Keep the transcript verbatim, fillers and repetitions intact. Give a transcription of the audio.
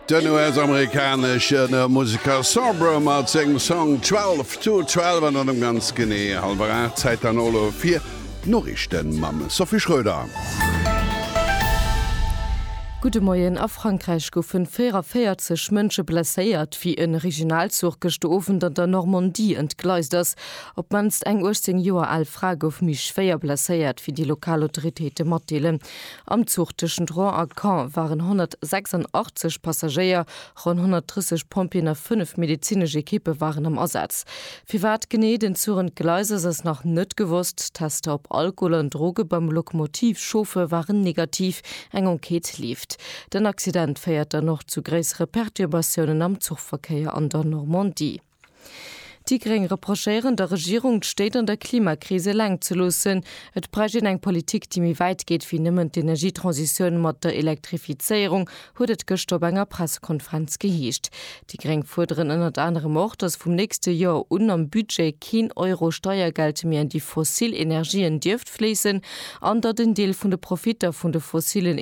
Den U S-amerikanesche Museker Sombr mat sengem Song twelve to twelve an dann ganz genee hallwer aacht, Zäit dann elo fir d'Noriichten mam Sophie Schröder. Gudde Moien. A Frankräich goufen véierundavéierzeg Mënsche blesséiert, wéi e Regionalzuch gëschter Owend an der Normandie entgleist ass. Op d'mannst eng uechtzéng Joer al Fra gouf méi schwéier blesséiert, wéi déi lokal Autoritéite matdeelen. Am Zuch tëschent Rouen a Caen waren honnertsechsandachtzeg Passagéier, ronn honnertdrësseg Pompjeeën a fënnef medezinesch Ekippe waren am Asaz. Firwat genee den Zuch entgleist ass, ass nach net gewosst. Tester op Alkohol an Droge beim Lokomotivchauffeur waren negativ. Eng Enquête leeft. Den Accident féiert dann och zu gréissere Perturbatiounen am Zuchverkéier an der Normandie. Déi Gréng reprochéieren der Regierung, d'Stéit an der Klimakris eleng ze loossen. Et bräicht een eng Politik, déi méi wäit geet wéi nëmmen d'Energietransitioun mat der Elektrifizéierung, huet et gëschter op enger Pressekonferenz geheescht. Déi Gréng fuerderen ënnert anerem och, datt vum nächste Joer un am Budget keen Euro Steiergeld méi an déi fossil Energien dierft fléissen an datt en Deel vun de Profitter vun de fossillen